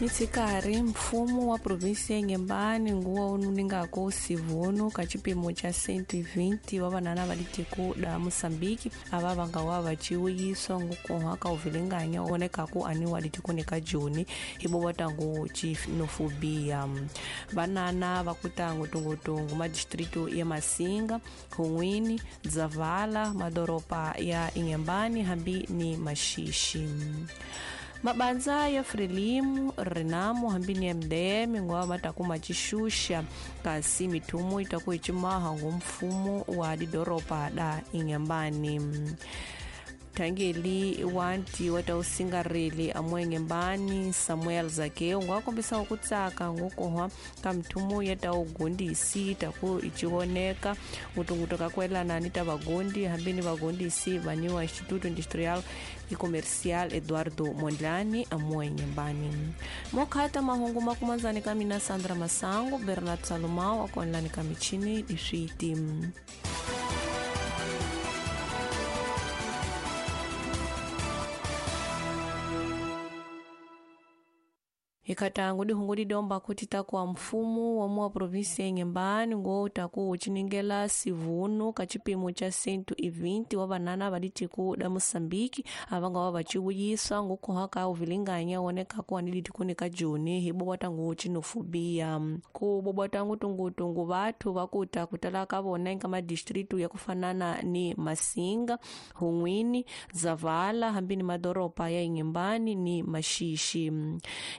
Nitsikari mfumo wa provinsi ya Inhambane nguwa ununingako sivuno ka chipimo cha 120 wa vanana va litiko da Moçambique ava vanga wa vaciwiyiswa ngukoha ka uvilinganya onekaku aniwa litikoni ka Joni hibo vatangu xenofobia. Vanana va kutangu tungutungu madistrito ya Masinga, Hunwini, Dzavala, madoropa ya Inhambane hambi ni Maxixi. Mabanza ya Frelimo, Renamo hambi ni MDM ngwa matakuma chixuxa kasi mithumu itaku icimaha ngumfumo wa didoropa da Inhambane. Thangeli wanti wa tausingareli amwengembani Samuel Zakeo ngwa kombisa ku tsaka ngukohwa ka mithumu ya taugondisi taku ichioneka ngutunguto ka kwelana ni ta vagondi hambi ni vagondisi vaniwa Instituto Industrial e Comercial Eduardo Mondlane amwengembani. Mokhata mahungu makumanzani ka mina Sandra Masango, Bernard Salomao akonlani ka michini diswiti. Ikatangu dihungu didomba kuti takuwa mfumo wa muwa provinsi ya Inhambane ngo taku uchiningela sivuno ka chipimo cha 120 wa vanana va litiko da Moçambique avanga wa vaciwuyiswa ngukoha ka uvilinganya oneka kuwa ni litikoni ka Joni hibo watangu xenofobia. Ku bobwatangu tungutungu vathu vakuta kutala ka vona eka madistritu ya kufanana ni Masinga, Hunwini, Zavala hambi ni madoropa ya Inhambane ni Maxixi.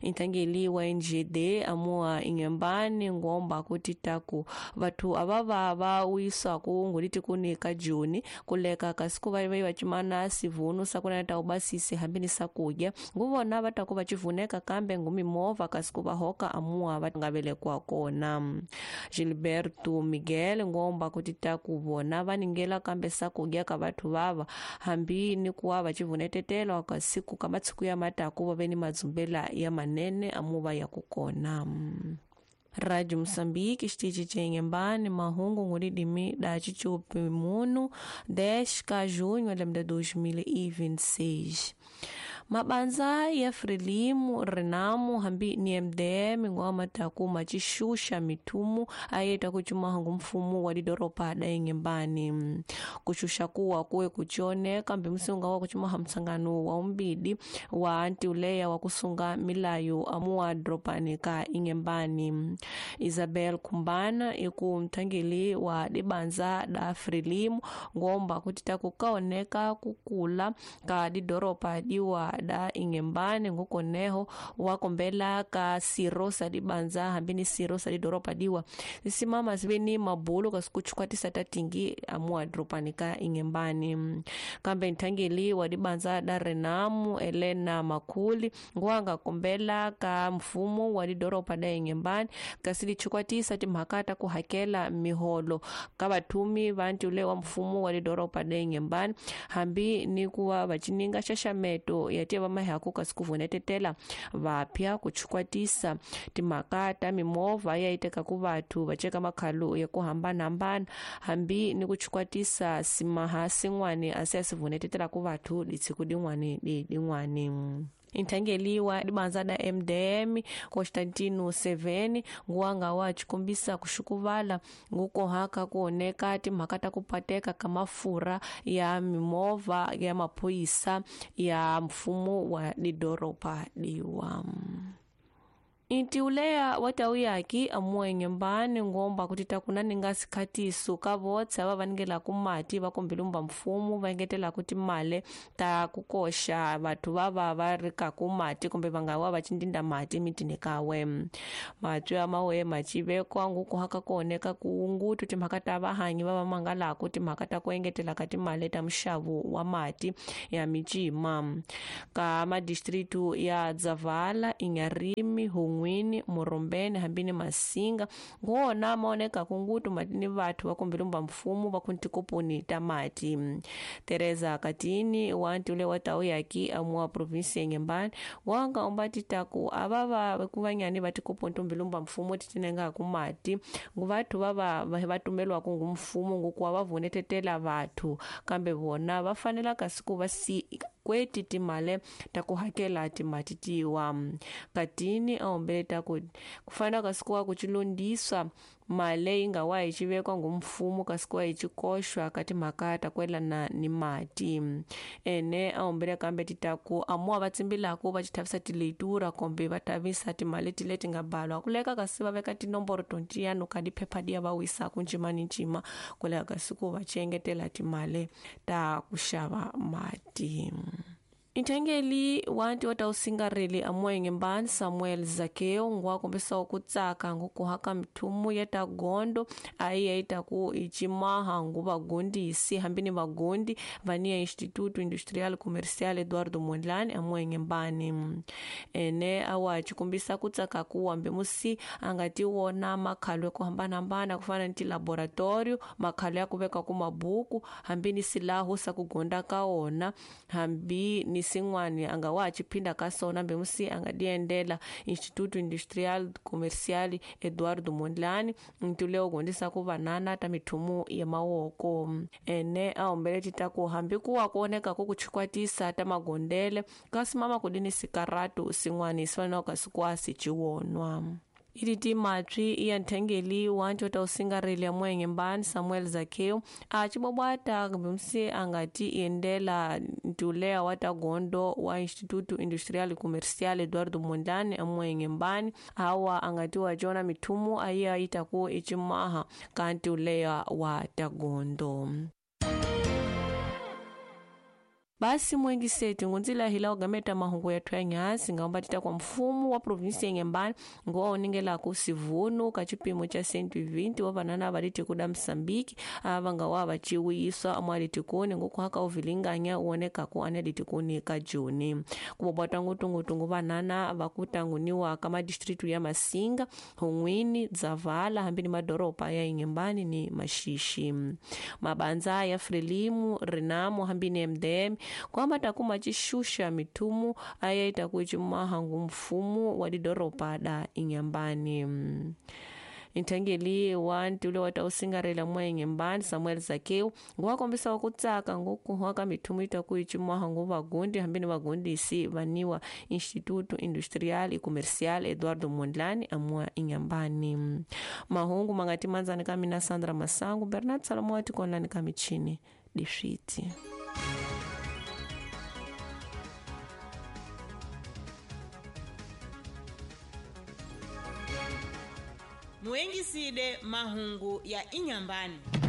Intangeli wa NGD amua Inhambane ngomba kuti taku vathu avava va wiswaku nguliti ka Joni kuleka kasi ku va vacimana sivuno sakuna ta ubasisi hambi ni sakudya nguvona va taku va civuneka kambe ngumimovha kasi ku va hoka amua va nga velekwa kona. Gilberto Miguel ngomba kuti taku vona va ningela kambe sakudya ka vathu vava hambi ni kuwa va civunetetela kasi ku ka matshiku ya mataku va ve ni madzumbela ya manene amuva ya kukona. Rádio Moçambique, xitichi cha Inhambane, mahungu ngulidimi da chichupi munu 10 ka junho de 2026. Mabanza ya Frelimo, Renamo hambi ni MDM ngwa mataku machixuxa mithumu ayeta kuchumaha ngumfumo wa didoropa da Inhambane. Kuxuxa kuwa kuwe kuchioneka kambe msunga wa kuchumaha msangano wa umbidi wa antiuleya wa kusunga milayo amuwa dropani ka Inhambane. Isabel Kumbana iku mthangeli wa dibanza da Frelimo ngomba kuti takukaoneka kukula ka didoropa diwa da Inhambane ngukoneho wakombela ka sirosa dibanza hambi ni sirosa didoropa diwa zisimama zive ni mabulu kasi kuchukwatisa tatingi amua dropani ka Inhambane. Kambe nthangeli wa dibanza da Renamo Elena Makuli nguanga kombela ka mfumo wa didoropa da Inhambane kasi lichukwatisa timhaka ta ku hakela miholo ka vathumi va ntiule wa mfumo wa lidoropa da Inhambane hambi ni kuva vacininga xaxameto ya tiva mahaku kasi ku vunetetela vapya ku chukwatisa timhaka ta mimovha ya iteka ku vathu va ceka makhalu ya ku hambanahambana hambi ni ku chukwatisa simaha sin'wani asi ya sivunetetela ku vathu litshiku din'wani di din'wani. Inthangeli wa dibanza da MDM Constantino Seveni nguwanga wa chikombisa kuxukuvala ngukohaka kuoneka timhaka ta ku pateka ka mafurha ya mimovha ya maphorisa ya mfumo wa didoropa diwa. Intiuleya wa tauyaki amuwa Inhambane ngomba kuti takunani sikhatiso ka votse ava va ningelaku mati va kombelumba mfumo va engetelaku timale ta ku koxa vathu vava va ri kaku mati kumbe va nga wa va cindinda mati mitini kawe. Matwi ya mawe macivekwa ngukuhaka kuoneka ku timhaka ta vahanyi va va mangalaku timhaka ta ku engetela ka timale ta muxavo wa mati ya micima ka madistritu ya Dzavala, Inharime, Hunwini, Morombene hambi ni Masinga ngona maoneka kungutu matini vathu va kombelumba mfumo va kuntikoponi ta mati. Teresa Katini wanti ule wa tauyaki amuwa provinsi ya Inhambane wanga umbati taku avava kuvanyani va tikoponi tombelumba mfumo titinenga ku mati ngu vathu vava va tumelwaku ngu mfumo ngukuwa va vunetetela vathu kambe vona va fanela kasi ku va si ku xikweti timale ta ku hakela timati tiwa. Katini a hombele ta ku kufanele kasi kuwa ku cilondiswa male yi nga wa hi civekwa ngumfumo kasi kuwa hi cikoxwa ka timhaka ta kwelana ni mati. Ene a hombele kambe ti ta ku amuwa va tsimbilaku va cithavisa tileitura kumbe va tavisa timali ti leti nga balwa kuleka kasi va veka tinomboro tontiyano ka diphepha diya va wisaku ncima ni ncima kuleka kasi ku va ciengetela timali ta ku xava mati. Nthengeli wa ntiwa usingareli amoyenge mbani Samuel Zakeo ngwa kombisa ku tsaka ngukuha ka mithumu ya ta gondo ayi yaita ku icimaha ngu vagondisi hambi ni vagondi vania Instituto Industrial Comercial Eduardo Mondlane amoyenge mbani. Ene awa cikombisa ku tsaka ku wambe musi a nga ti wona makhalo ya ku hambanahambana ku fana ni tilaboratorio, makhalo ya ku veka ku mabuku hambi ni silahu sa ku gonda ka wona hambi ni sin'wani a nga wa ciphinda ka sona hambi musi a nga diendela Instituto Industrial Comercial Eduardo Mondlane ntule u gondisa ku vanana ta mithumu ya mawoko. Ene a hombele ti ta ku hambi ku wa ku oneka ku chikwatisa ta magondele kasi mama ku dini sikaratu sin'wani sifana kasi kwasi ciwonwa. Iliti matwi ya nthengeli wa ncota usingareli ya mwenge mbani Samuel Zakeo a cibobwata kumbe a nga ti endela ntulea wa ta gondo wa Instituto Industrial Comercial Eduardo Mondlane a mwenge mbani awa a nga ti wa cona mithumu ayi a ita ku icimaha ka ntulea wa ta gondo. Basi mwengiseti ngunzila hila ugameta mahungu ya twanyasi ngamba tita kwa mfumo wa provinsi ya Inhambane ngo oningela ku sivunu ka chipimo cha 120 wa vanana valiti kuda Msambiki avanga wa vachiwiswa amwalitikuni ngukuhaka uvilinganya uoneka ku analitikuni ka Juni kubobwata ngutungutungu vanana vakutanguniwa ka madistritu ya Masinga, Hungwini, Dzavala hambi ni madoropa ya Inhambane ni Mashishi. Mabanza ya Frelimu, Renamo hambi ni MDM kwamba takuma cixuxa mithumu ayaita kucimaha mfumo wa lidoropa da Inhambane. Nthengeli wa ntule wa ta usingarela mwenge mbani Samuel Zakeo nguwakombisa kutsaka ngukuhwa ka mithumu ita kuicimaha ngu vagundi hambi ni vagundisi vaniwa Instituto Industrial e Comercial Eduardo Mondlane amwa Inhambane. Mahungu mangati manzani ka mina Sandra Masangu, Bernard Salomo wa tikonlani ka michini diswiti. Muengiside mahungu ya Inhambane.